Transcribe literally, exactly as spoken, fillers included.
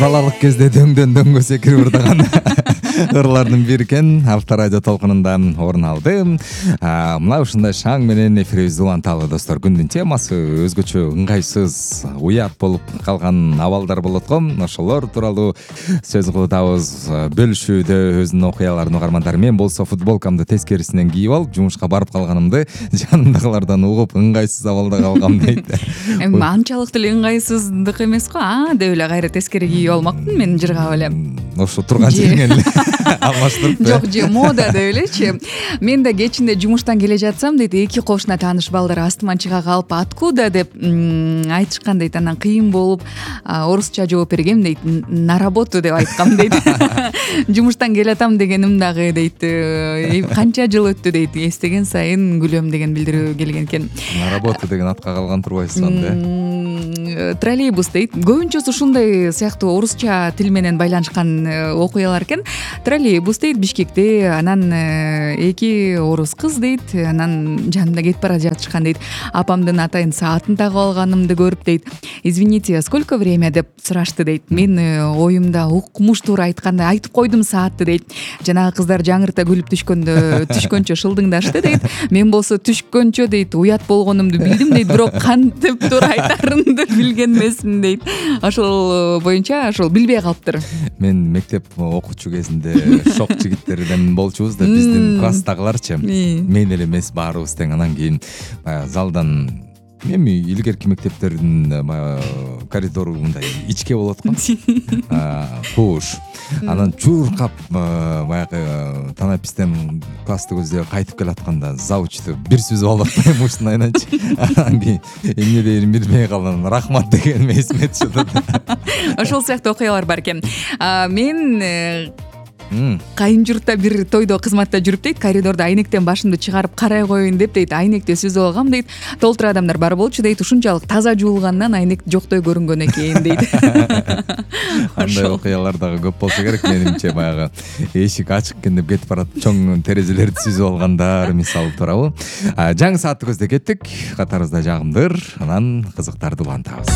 балалык кезде дөңдөн дөңгө секирип ырдаган ырлардын бири экен. Алта радио толкунунда орун алды. Мына ушундай шаң менен эфирибизди уланталы достор. Күндүн темасы өзгөчө ыңгайсыз, уят болуп калган абалдар болот го. Ошолор тууралуу сөз кылабыз, бөлүшүүдө өзүнүн окуяларын угармандар. Мен болсо футболкамды тескерисинен кийип алып, жумушка барып калганымды жанымдагылардан угуп, ыңгайсыз абалда калгам дейт. Эми анчалык деле ыңгайсыздык эмес го. А деп эле кайра тескери кийип алмакмын мен жыргап эле. Ошо турган жериңен эле алмаштырып. Жок, же мода деп элечи. Мен да кечинде жумуштан келе жатсам дейт, эки кошуна тааныш балдар астыман чыга калып, откуда деп айтышкан дейт. Анан кыйын болуп орусча жооп бергем дейт. На работу деп айткам дейт. Жумуштан келатам дегеним дагы дейт. Канча жыл өттү дейт. Эстеген сайын күлөм деген билдирүү келген экен. На работу деген атка калган турбайсыз анда. Троллейбус дейт. Көбүнчөсү ушундай сыяктуу орусча тил менен байланышкан окуялар экен. Троллейбус дейт Бишкекте, анан эки орус кыз дейт, анан жанымда кетип бара жатышкан дейт. Апамдын атайын саатын тагып алганымды көрүп дейт. Извините, сколько время деп сурашты дейт. Мен оюмда укмуш туура айтканда айтып койдум саатты дейт. Жанагы кыздар жаңырта күлүп түшкөндө түшкөнчө шылдыңдашты дейт. Мен болсо түшкөнчө дейт уят болгонумду билдим дейт, бирок кантип туура айтарымды билген эмесмин дейт. Ошол боюнча ошол билбей калыптыр. Мен мектеп окуучу кезинде шок жигиттерден болчубуз да, биздин класстагыларчы. Мен эле эмес, баарыбыз тең. Анан кийин баягы залдан эми илгерки мектептердин баягы коридору мындай ичке болот го. Кууш. Анан чуркап баягы танапистен классты көздөп кайтып келатканда завучту бир сүзүп алып муштун айнанчы. Анан кийин эмне дейин билбей калган, рахмат дегеним эсиме түшүп. Ошол сыяктуу окуялар бар экен. Мен кайын журтта бир тойдо кызматта жүрүп дейт, коридордо айнектен башымды чыгарып карай коеюн деп дейт, айнекти сүзүп алгам дейт. Толтур адамдар бар болчу дейт, ушунчалык таза жуулгандан айнек жоктой көрүнгөн экен дейт. Андай окуялар дагы көп болсо керек менимче. Баягы эшик ачык экен деп кетип барат, чоң терезелерди сүзүп алгандар мисалы туурабы. Жаңы саатты көздөй кеттик. Катарыбызда жагымдыр, анан кызыктарды улантабыз.